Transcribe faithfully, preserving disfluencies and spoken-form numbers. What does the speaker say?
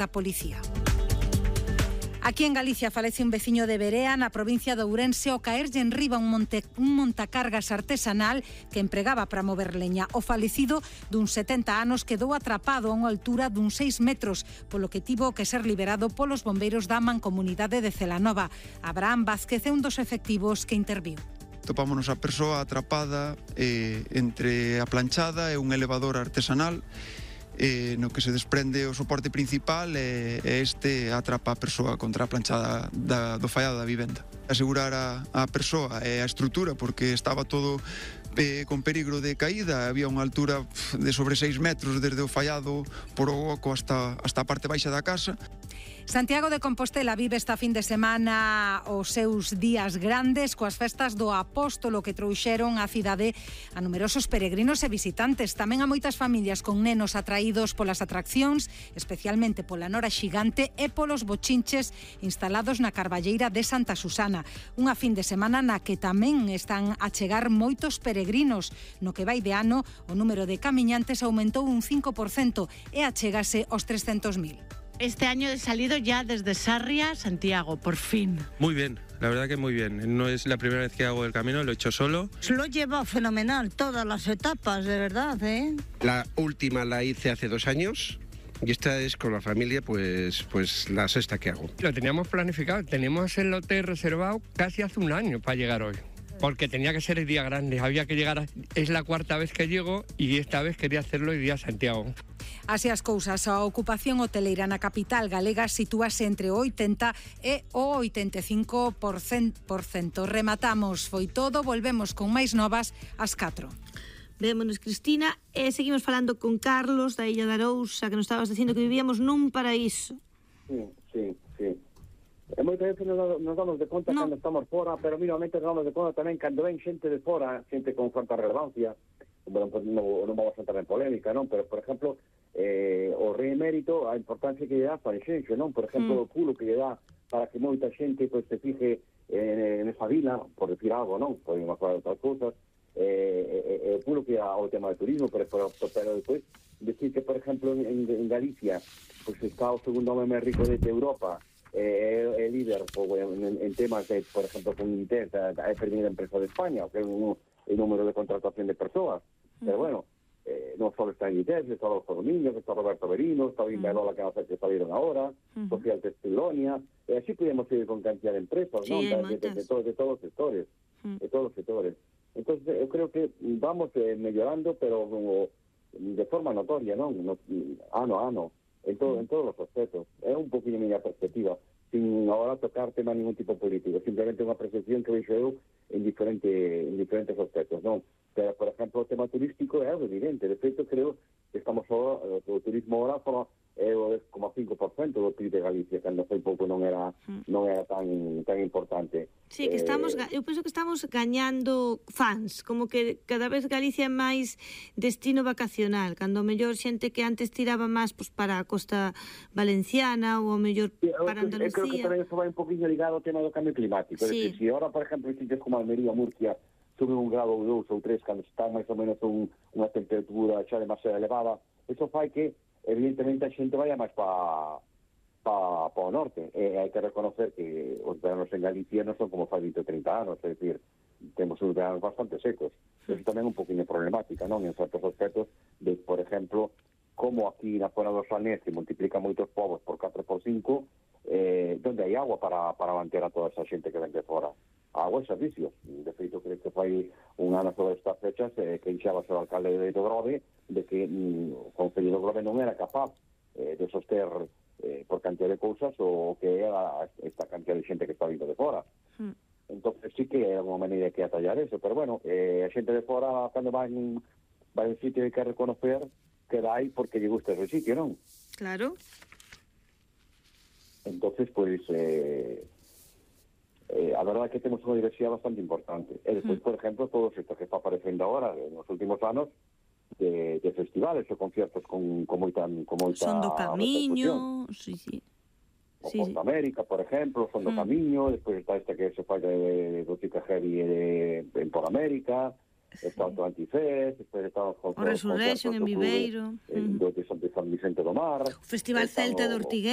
da policía. Aquí en Galicia falece un veciño de Berea, na provincia de Ourense, ao caerlle en riba un, monte, un montacargas artesanal que empregaba para mover leña. O falecido dun setenta anos quedou atrapado a unha altura dun seis metros, polo que tivo que ser liberado polos bombeiros da Mancomunidade de Celanova. Abraham Vázquez é un dos efectivos que interviu. Topámonos a persoa atrapada eh, entre a planchada e un elevador artesanal, Eh, no que se desprende o soporte principal e eh, este atrapa a persoa contra a planchada da, do fallado da vivenda. Asegurar a, a persoa e a estrutura, porque estaba todo eh, con perigo de caída, había unha altura de sobre seis metros desde o fallado por o oco hasta, hasta a parte baixa da casa. Santiago de Compostela vive esta fin de semana os seus días grandes coas festas do Apóstolo que trouxeron á cidade a numerosos peregrinos e visitantes. Tamén a moitas familias con nenos atraídos polas atraccións, especialmente pola Nora Xigante e polos bochinches instalados na Carballeira de Santa Susana. Unha fin de semana na que tamén están a chegar moitos peregrinos. No que vai de ano, o número de camiñantes aumentou un cinco por cento e achégase aos trescentos mil. Este año he salido ya desde Sarria, Santiago, por fin. Muy bien, la verdad que muy bien. No es la primera vez que hago el camino, lo he hecho solo. Lo lleva fenomenal, todas las etapas, de verdad, ¿eh? La última la hice hace dos años. Y esta es con la familia, pues, pues la sexta que hago. Lo teníamos planificado, tenemos el hotel reservado casi hace un año para llegar hoy. Porque tenía que ser el día grande, había que llegar, a, es la cuarta vez que llego y esta vez quería hacerlo el día Santiago. Así as cousas, a ocupación hoteleira na capital galega sitúase entre o oitenta e o oitenta e cinco por cento. Rematamos, foi todo, volvemos con máis novas ás catro. Vémonos, Cristina, e seguimos falando con Carlos da Illa de Arousa, que nos estabas dicindo que vivíamos nun paraíso. Sí, sí, sí. E moitas veces nos, nos damos de conta no. cando estamos fora, pero mínimamente nos damos de conta tamén cando ven xente de fora, xente con certa relevancia. Bueno, pues non, non vamos a entrar en polémica, non? Pero, por exemplo, eh, o rei emérito, a importancia que lle dá para xenxo, non? Por exemplo, mm. o pulo que lle dá para que moita xente pues, se fije en, en esa vila, por decir algo, non? Podemos falar de outras cousas, eh, eh, o pulo que dá ao tema de turismo, pero, pero, pero despois, decir que, por exemplo, en, en Galicia, pues está o segundo home máis rico de Europa, é eh, líder pues, en, en temas de, por exemplo, con Inter, é a primeira empresa de España, que é un, el número de contratación de persoas. Uh-huh. Pero bueno, eh, non só está en Inter, está o Niños, está Roberto Berino, está Bimba uh-huh. que, que salieron ahora, uh-huh. Social Testilonia, e así podemos ir con cantidad de empresas, sí, ¿no? de, de, de, todo, de todos os sectores, uh-huh. de todos os sectores. Entonces, eu creo que vamos eh, mellorando, pero como, de forma notoria, non? No, ano a ano. En, todo, en todos os aspectos. É un poquinho a miña perspectiva, sin agora tocar tema ningún tipo político, simplemente unha percepción que veixo eu en, diferente, en diferentes aspectos, non? Pero, por exemplo, o tema turístico é algo evidente. De feito, creo que estamos agora, o turismo agora forma é o dez coma cinco por cento do P I B de Galicia, cando foi pouco non era non era tan tan importante. Sí, que estamos, eh, eu penso que estamos gañando fans, como que cada vez Galicia é máis destino vacacional, cando o mellor xente que antes tiraba máis pues, para a costa valenciana ou o mellor sí, para Andalucía. Eu creo que tamén eso vai un poquinho ligado ao tema do cambio climático. Sí. Es decir, se agora, por exemplo, sitios como Almería, Murcia, sube un grado ou dous ou tres, cando está máis ou menos un, unha temperatura xa demasiado elevada, eso fai que evidentemente a xente vaya máis para pa, pa o norte. E hai que reconocer que os veranos en Galicia non son como fai vinte ou trinta anos, é dicir, temos uns veranos bastante secos. Eso tamén é un poquinho problemática, non? En certos aspectos de, por exemplo, como aquí na zona do Salnés, que multiplica moitos povos por catro por cinco, eh, donde hai agua para, para manter a toda esa xente que ven de fora. Agua e servicios. De feito, creo que fai un ano sobre estas fechas eh, que enxaba o alcalde de Grove de que mm, o Concello de Grove non era capaz eh, de soster eh, por cantidad de cousas o que era esta cantidad de xente que está vindo de fora. Mm. Entonces sí que é unha maneira que atallar eso, pero bueno, eh, a xente de fora cando van vai a un sitio hai que reconocer que dá aí porque lle gusta ese sitio, non? Claro. Entonces, pues... Eh, Eh, a verdade é que temos unha diversidade bastante importante. E despois, mm. por exemplo, todo isto que está aparecendo agora nos últimos anos de, de festivales ou conciertos con, con moita con moita Son do Camiño, sí, sí. O sí, Porta sí. América, por exemplo, Son do mm. Camiño, despois está este que se fai de Botica Heavy de, en Por América, sí. Está o Antifest, despois está o Resurrection en Viveiro, mm. do de San Vicente do Mar, o Festival Celta de Ortigueira.